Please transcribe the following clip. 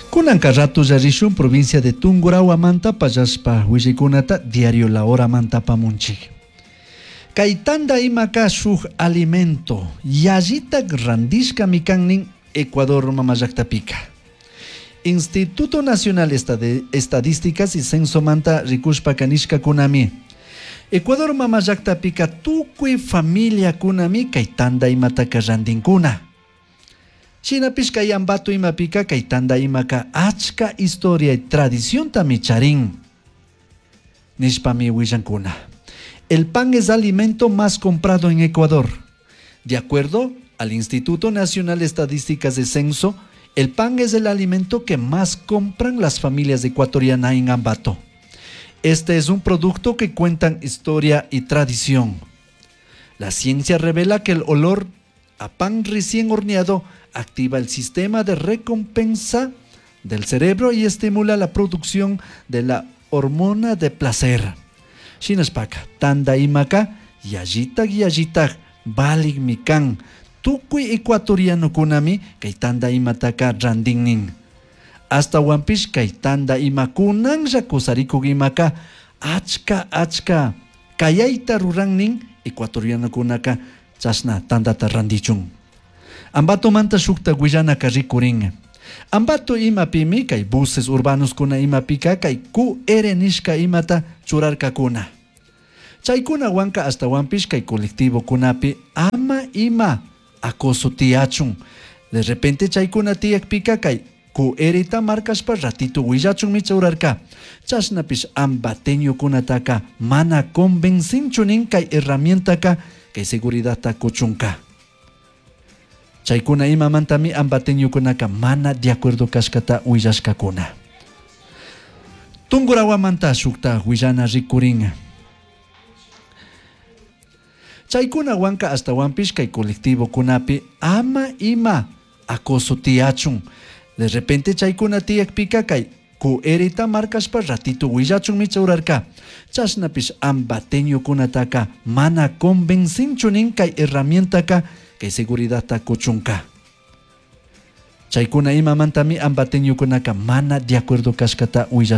Kunanka ratolla rishun provincia de Tungurahua pallashpa willaykunata diario La Hora mantapamunchik. Kay tanda imaka shuk alimento yallitak randishkami kan nin Ecuador mamallaktapica. Instituto Nacional de Estadísticas y Censomanta rikushpaka nishkakunami. Ecuador mamallaktapica tukuy familiakunami kay tanda imataka randinkuna. Shinapish kay Ambato imapika kay tanda imaka achka historia y tradiciontami charin. Nishpami willankuna. El pan es alimento más comprado en Ecuador. De acuerdo al Instituto Nacional de Estadísticas de Censo, el pan es el alimento que más compran las familias ecuatorianas en Ambato. Este es un producto que cuentan historia y tradición. La ciencia revela que el olor a pan recién horneado activa el sistema de recompensa del cerebro y estimula la producción de la hormona de placer. Shinashpaka, tanda imaka, yallitak yallitak, valikmi kan. Tukuy ecuatorianokunami kay tanda imataka randinnin. Ashtahuanpish kay tanda imakunanlla kusarikuk imaka achka achka kayayta rurannin ecuatorianokunaka chashna tandata randichun. Ambatomanta shukta willanaka rikurin. Ambato imapimi kay buses urbanos kuna imapika kay QR nishka imata churarkakuna. Chaykunawanka ashtawanpish kay colectivokunapi ama ima acoso tiyachun. De repente chaykuna tiyakpika kay QR markashpa ratito willachunmi churarka. Chashnapish ambateñokunataka mana convencinchu nin kay herramientaka kay seguridadta kuchunka. Chaykuna imamantami ambateñokunaka mana de acuerdo kashkata willashkakuna. Tungurahuamanta shukta willana rikurin. Chaykunawanka ashtawanpish kay colectivokunapi ama ima acoso tiyachun. De repente chaykuna tiyakpika kay QR markashpa ratito willachunmi churarka. Chashnapish ambateñokunataka mana convencinchu nin kay herramientaka kay seguridadta kuchunka. Chaykuna imamantami ambateñokunaka mana de acuerdo kashkata willashka.